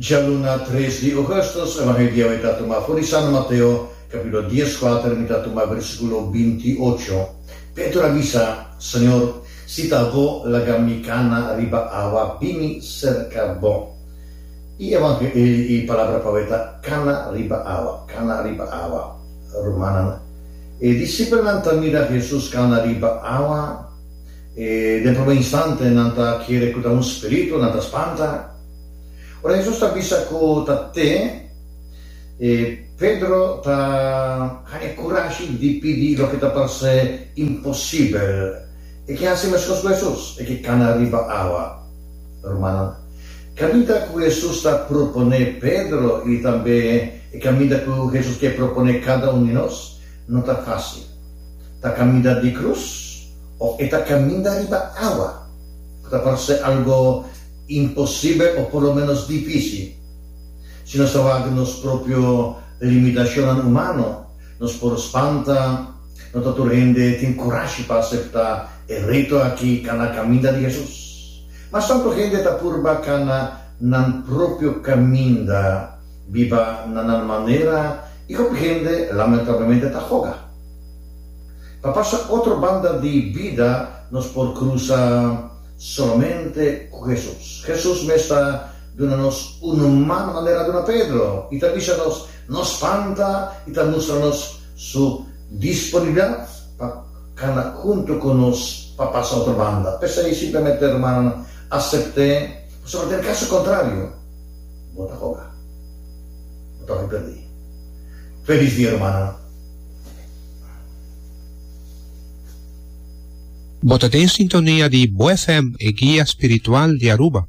Djaluna tres di ougùstùs, Evangelio di awe ta tuma for di San Mateo, kapítulo dieskuater, mi ta tuma versíkulo bintiocho. Pedro a bisa, Señor, si ta bo, laga mi kana riba awa bini serka bo. I e palabra pa awe ta kana riba awa, kana riba awa. Rumannan, e disipelnan ta mira Hesus kana riba awa, e den promé instante nan ta kere ku ta un spiritu, nan ta spanta. Ora Hesus ta bisa ku ta te, e Pedro ta haña kurashi di pidi loke ta parse imposibel. E ke hasi meskos ku Hesus, e ke kana riba awa. Rumannan, kaminda ku Hesus ta proponé Pedro i tambe e kaminda ku Hesus ke proponé kada un di nos, no ta fásil. Ta kaminda di krus òf e ta kaminda riba awa, ku ta parse algu Imposibel o por lo menos difícil. Si nos ta wak nos propio limitacionnan humano, nos por spanta. No ta tur hende tin curashi pa acepta e reto aki cana caminda di Jesus. Mas tanto hende ta purba cana nan propio caminda, biba na nan manera y hopi hende lamentablemente ta hoga. Pa pasa otro banda di bida nos por cruza. Solamente ku Hesus. Hesus mes ta duna nos un man manera a duna Pedro i ta bisa nos no spanta i ta mustra nos su disponibilidat pa kana huntu ku nos pa pasa otro banda. P'esei simplemente rumannan asept'é pasobra den kaso kontrario bo ta hoga. Bo ta hopi pèrdí. Felis dia rumannan. Bo ta den sintonia di Bo FM, e guia spiritual di Aruba.